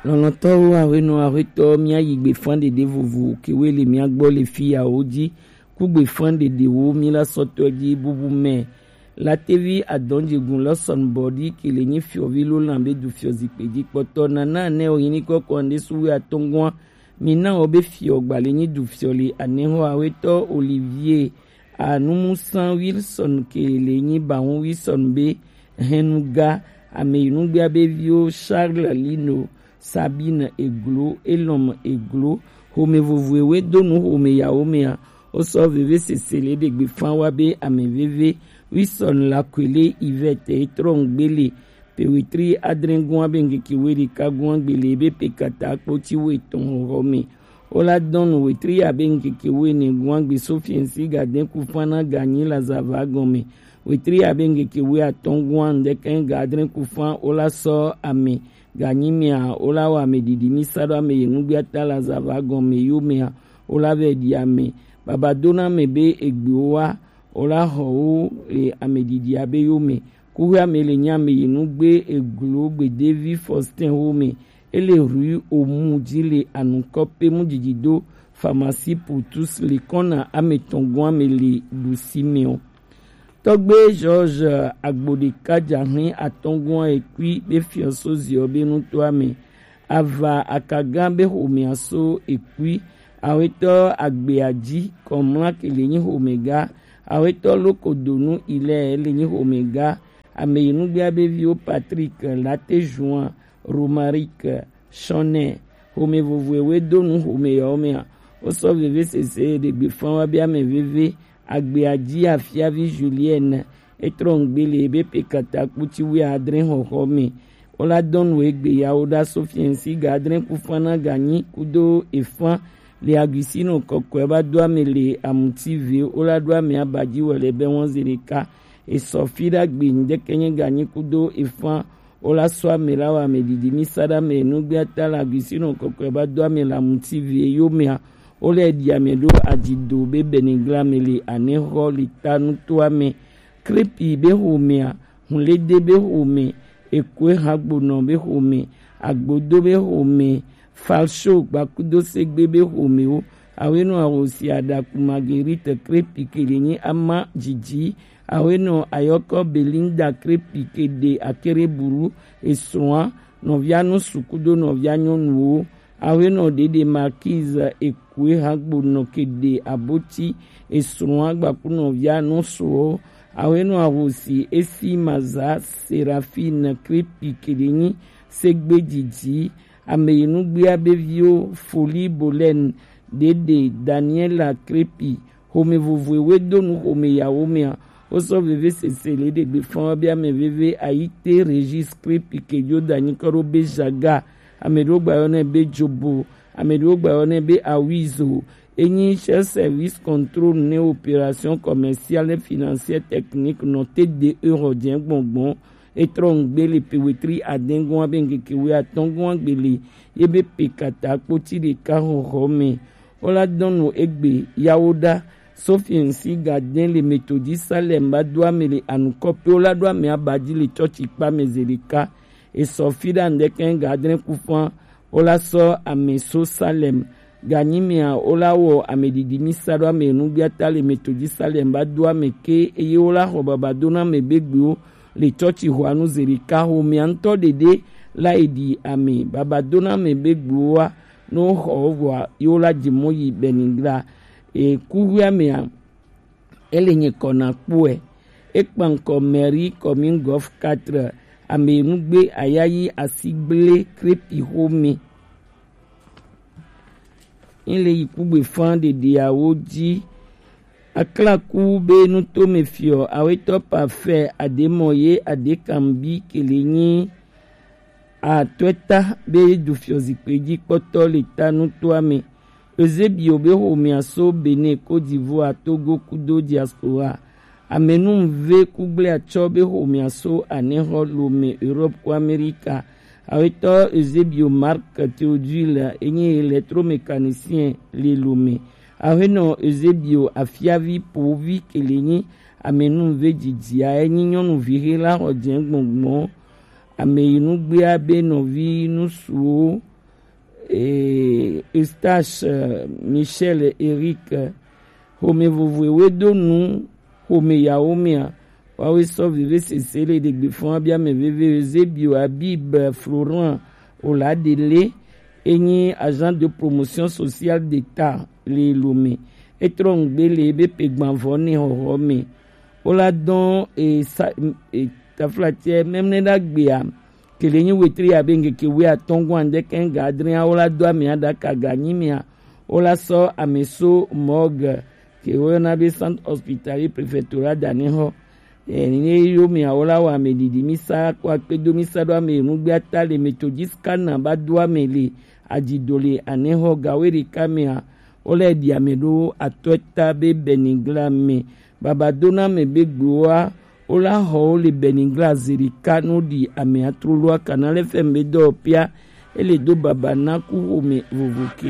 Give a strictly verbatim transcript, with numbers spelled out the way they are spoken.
Lɔlɔ̃tɔwo, awenɔ, ahuetɔ, míayi gbefan ɖeɖe vovo kewe le mía gbɔ le fiyawo ji. Ku gbefan ɖeɖewo mí la sɔtɔ ji bubu mɛ. Latevi adɔnjegun lɔsɔn bɔdi ke le nyi fiɔvi lo lan be du fiɔ zikpe ji kpɔtɔ nana ne o yini kɔkɔ ande suwe atɔngua. Mina o be fiɔ gbale nyi du fiɔ le anehɔ ahuetɔ Olivier Anumusa Wilson ke le nyi bahun Wilson be hɛnuga, ameyinugbe abe viwo Charles Lino, Sabine Eglo, Elom Eglo, xome vovoewe do nu xome yawo mea, wosɔ veve sese le ɖegbe fan wa be ame veve Wilson Lakwele Yvette etrɔ ŋgbe le pe wetri adre gua be ŋkeke we ɖeka gua gbele be pe kata kpoti we tɔn xɔxɔ me. Wola dɔn nu wetri abe ŋkeke we ne gua gbe Sofiensi ga de kufan na ganyi la zava gɔme. Wetri abe ŋkeke we atɔn gua ŋdɛkɛ ga adre kufan wola sɔ ame ganyi mea wola wɔ ame didi mi sa ɖo ame ye nugbiata la zava gɔme yo mea wola vɛ ɖi ame. Baba dona ame be egbewo wa wola xɔ wo le ame didi abe yo me. Kuxi ame le nyi ame yi nugbe eglo gbedevi Faustin wo me. Ele rue Omu ji le anukɔ pe mu didi do pharmacie pour tous le kɔna ame tɔn gɔn ame le ɖusi me o. Tɔgbe George Agbodeka jahin atɔngɔn ekui be fiɔso ziɔ be nutoa me. Ava akagan be xomea so ekui. Awetɔ agbea ji kɔmla ke le nyi xomega. Awetɔ lokodonu ilɛ le nyi xomega. Ame yi nugbea be viwo Patrick Latejuan, Romaric Shɔnɛ, xome vovoewe do nu xome yawo mea. Wosɔ veve sese ɖegbe fan wa be ame veve agbea ji afiavi Julienne etrɔ ŋgbe le ebe pe kata kputi wi adre xɔxɔ me. Wola dɔn nu egbe yawo ɖa Sofiensi ga adre kufan na ganyi kudo efan le aguisino kɔkɔe ba do ame le amuti ve wola ɖo ame abaji wɔ le be wɔn ze ɖeka. Esɔ fi ɖagbe ŋdɛkɛ nye ganyi kudo efan wola sɔ ame la wɔ ame didi mi sa ɖa ame nugbe ata la aguisino kɔkɔe ba do ame la muti ve yo mea. Wole ɖi ame ɖo adzido be benigla me le anexɔ le ta nutoa me. Krepi be xomea, hunlede be xome, ekoe hagbonɔ be xome, agbodo be xome, falsho gbakudo segbe be xomewo. Awenɔ ahosi aɖaku Marguerite Krepi ke le nyi ama dzidzi. Awenɔ ayɔkɔ Belinda Krepi ke ɖe akere buru esrɔ̃a nɔvia nusu kudo nɔvia nyɔnuwo. Awenɔ ɖeɖe Marquise ekue hagbo nɔ ke ɖe aboti esrɔ̃a gbaku nɔvia nusuwo. Awenɔ ahosi esi maza Serafine Krepi ke ɖe nyi segbe dzidzi. Ame yi nugbea be viwo Foli Bolen, ɖeɖe Daniela Krepi, xome vovoewe do nu xome yawo mea. Wosɔ veve sese le ɖegbe fɔn be ame veve Ayite Regis Krepi ke jo da nyikɔ ɖo be Jaga, ame ɖewo gba yɔ nɛ be Jobo, ame ɖewo gba yɔ nɛ be Awizo. Enyi chef service contrôle ne opération commerciale et financière technique nɔ T D E xɔ jɛ gbɔngbɔn. Etrɔ ŋgbe le pewetri adɛngɔn abe ŋkeke wi atɔngɔn agbele ye be pe kata kpoti ɖeka xɔxɔ me. Wola dɔn nu egbe yawo ɖa. Sofiensi gadɛn le Metodi Salem ba do ame le anukɔ pe wola ɖo ame abaji le tsɔtsi kpa me ze ɖeka. Esɔ fi ɖa ŋdɛkɛ ga adre kufan wola sɔ ame so Salem. Ganyi mea wola wɔ ame didi mi sa ɖo ame nugbiata le Metodi Salem ba do ame ke eye wola xɔ baba do na ame be gbewo le tsɔtsi xɔanu ze ɖeka xomea ŋutɔ ɖeɖe la yi ɖi ame baba do na ame be gbewoa. No xɔ vɔa yewo la dzi mo yi Benigla. E kuxuia mea ele nye kɔ na kpɔe. Ekpa ŋkɔ Mary Commune Golf quatre ame nugbe ayayi asigble Krepi xome. Ŋle yi kugbe fan ɖeɖeawo ji. Aklaku be nutome fiɔ awetɔ pafɛ ademɔ ye adekambi kele nyi atɔɛta be du fiɔ zikpui ji kpɔtɔ le ta nutoa me. Eusebio be xomea so Benin, Côte d'Ivoire, Togo kudo diaspora. Amenuve kugble atsɔ be xomea so anexɔ Lome, Europe ku Amerika. Awetɔ Eusebio Marc Théodule enye électromécanicien le Lome. Awenɔ Eusebio afiavi povi kele nyi amenuve dzidzia enyi nyɔnuvi xe la xɔ jɛ gbɔngbɔn. Ame yi nugbea be nɔvi nusuwo Eustache, Michel, Eric, xome vovoe we do nu xome yawo mea, wawe sɔ veve sese le ɖegbe fɔn abia mɛ veve Eusebio, Habib, Florent, Oladele, enyi agent de promotion sociale d'État le Lomé. Etrɔ ŋgbe le ebe pe gbanvɔ ne xɔxɔ me. Wola dɔn e sa e taflatɛ mɛmlɛ ɖagbea kele nyi wetri abe ŋkeke wuiatɔ̃ gɔn ande kɛŋ ga adre a wola do ame aɖaka ga nyi mea, wola sɔ ame so morgue ke woyɔna be centre hospitalier préfectoral da ne xɔ. Eye yo mea wola wɔ ame ɖiɖi misa kɔ akpedo misa ɖo ame nugbe ata le Methodist kana ba do ame le adzido le ane xɔ gawe ɖeka mea, wola ɖi ame ɖo atɔ̃ ta be Benigla me. Baba dona ame be gbewoa wola xɔ wo le Benigla zerika no ɖi ame atroloa kana le fɛn be dɔ pia ele do baba na ku xome vovo ke.